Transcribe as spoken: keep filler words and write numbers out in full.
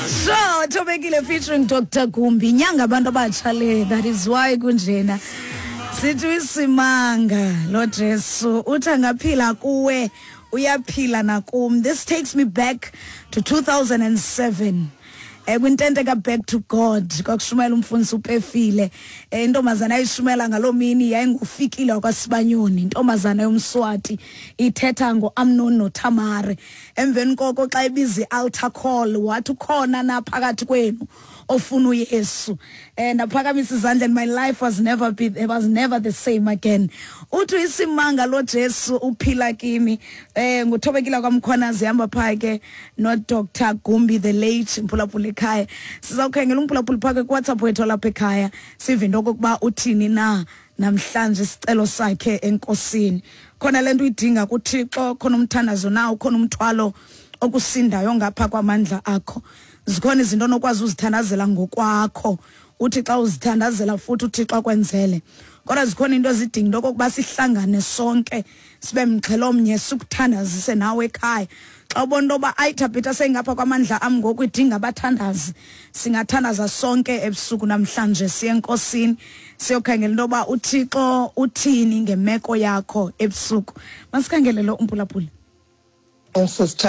So Thobekile featuring Doctor Gumbi, inyanga abantu abatsha le, that is why kunjena. Sithi isimanga lo Jesu uthi angaphila kuwe, uyaphila nakum. This takes me back to two thousand and seven, eh kwintente ka Back to God. Kwakushumayela umfundisi uPefile. eh intombazana ayishumela ngaloo mini yayingufikile wakwaSibanyoni, intombazana yomSwati, ithetha ngoAmnon noTamare. Emveni koko xa ibiza i-altar call, wathi, "Ukhona na phakathi kwenu ofuna uYesu?" eh ndaphakamisa izandla and my life was never be it was never the same again. Uthi isimanga lo Jesu uphila kimi. eh nguThobekile kwaMkhwanazi, hamba pha ke no Doctor Gumbi the late. Mphulaphula ekhaya, sizawukhangela umphulaphuli pha ke kuWhatsApp wethu lapha ekhaya, sive into okokuba uthini na namhlanje, isicelo sakhe enkosini. Khona lento uyidinga kuThixo, khona umthandazo na, ukhona umthwalo okusindayo ngapha kwamandla akho? Zikhona izinto onokwazi uzithandazela ngokwakho, uthi xa uzithandazela futhi uThixo akwenzele, kodwa zikhona into ezidinga into okokuba sihlangane sonke, sibe mxhelo mnye, sikuthandazise nawe ekhaya. Xa ubona into yoba ayithabhitha seyingapha kwamandla am ngoku, idinga abathandazi, singathandaza sonke ebusuku namhlanje, siye enkosini, siyokhangela into yoba uThixo uthini ngemeko yakho ebusuku. Masikhangele lo umphulaphuli. Sister.